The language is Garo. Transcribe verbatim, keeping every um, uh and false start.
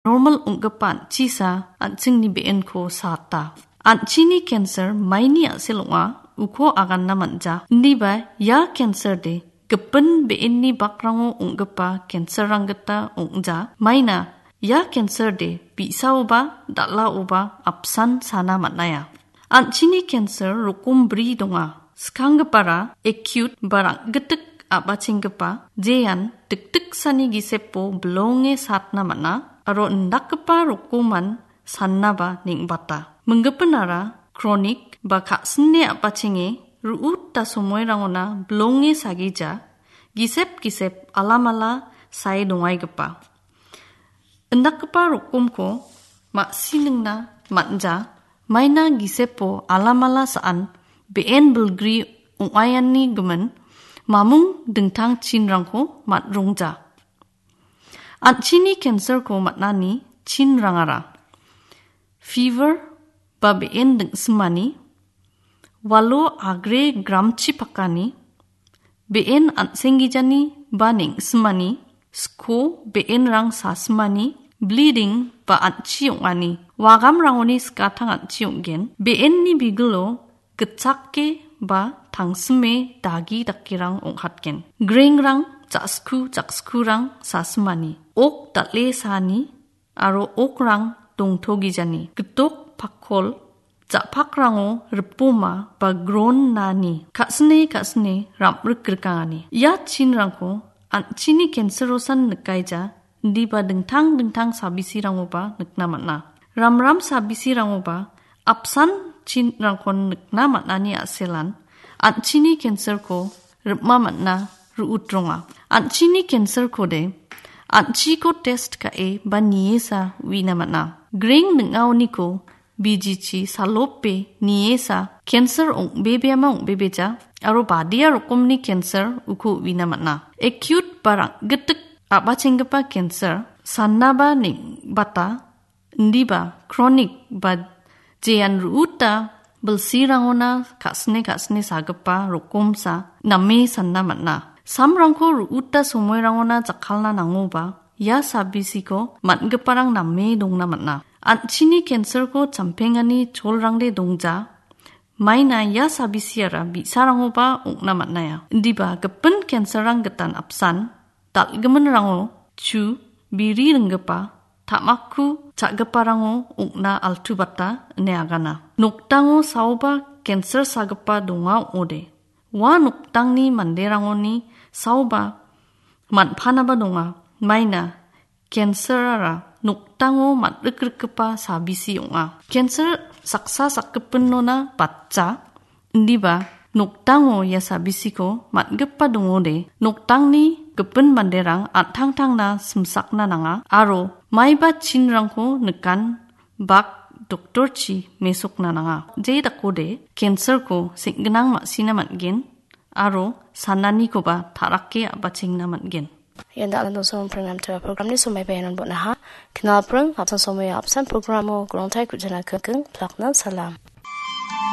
normal ong·gipa an·chisa an·chingni be·enko saata. An·chini cancer maini a·sel ong·a, uko aganna man·ja. Indiba ia cancer de gipin be·enni bakrango ong·gipa cancer-rang gita ong·ja. Maina ia cancer de bi·saoba, dal·aoba apsan sana man·aia. An·chini cancer rokom bri donga. Skanggipara acute ba rang·gitik a·bachenggipa, jean dikdiksani gisepo bilonge satna man·a, aro indakgipa rokoman sannaba neng·bata. Minggipinara chronic ba ka·sine a·bachenge ru·uta somoirangona bilonge sagija, gisep gisep alamala sae dongaigipa. Indakgipa rokomko ma·siningna man·ja, maina gisepo alamala sa·an be·en bilgri ong·aiani gimin mamung dingtang chinrangko man·rongja. An·chini cancer-ko man·ani chinrangara: fever ba be·en ding·simani, walo agre gramchi pakani, be·en an·senggijani ba neng·simani, sko be·enrang sasimani, bleeding ba an·chi ong·ani, wagamrangoni skatang an·chi ong·gen, be·enni bigilo gitchake ba tangsime dagi dakerang ong·katgen. Grengrang, ja·sku, ja·skurang sasimani, ok dal·e saani aro okrang dongtogijani, gitok pakkol ja·pakrango ripoma ba gron nani, ka·sine ka·sine ram·rik rikangani. Ia chinrangko an·chini cancer-osan nikaija, indiba dingtang dingtang sabisirangoba nikna man·a. Ramram sabisirangoba apsan chinrangkon nikna man·ani a·selan an·chini cancer-ko ripma man·a, ru·utronga. An·chini cancer-kode an·chiko test ka·e ba niesa uina man·a. Greng ning·aoniko bijichi salope niesa cancer ong·bebeama ong·bebeja aro badia rokomni cancer uko uina man·a. Acute ba rang·gitik a·bachenggipa cancer sannaba neng·bata, indiba chronic ba jean ru·uta bilsirangona ka·sine ka·sine sagipa rokomsa name sanna man·a. Samrangko ru·uta somoirangona jakkalna nangoba, ia sabisiko man·giparang name dongna man·a. An·chini cancer-ko champengani cholrangde dongja, maina ia sabisiara bi·sarangoba ong·na man·aia. Indiba gipin cancer-rang gitan apsan, dal·giminrango chu biri ringgipa, ta·makku cha·giparango ong·na altubata ine agana. Nokdango saoba cancer sagipa donga ong·ode. Ua nokdangni manderangoni saoba man·panaba donga. Maina cancer-ara nokdango man·rikrikgipa sabisi ong·a. Cancer saksa sakgipinona batja, indiba nokdango ia sabisiko man·gipa dongode, nokdangni gipin manderang an·tangtangna simsakna nanga aro maiba chinrangko nikan bak doktorchi mesokna nanga. Je dakode cancer-ko seng·ginang ma·sina man·gen aro sananikoba ta·rake a·bachengna man·gen. Ian dakna dongsoa pringan tera programni somaiba ianon bon·aha. Knalpring, apsan somoio apsan programo grongtai ku·jana kengkeng, plakna salam.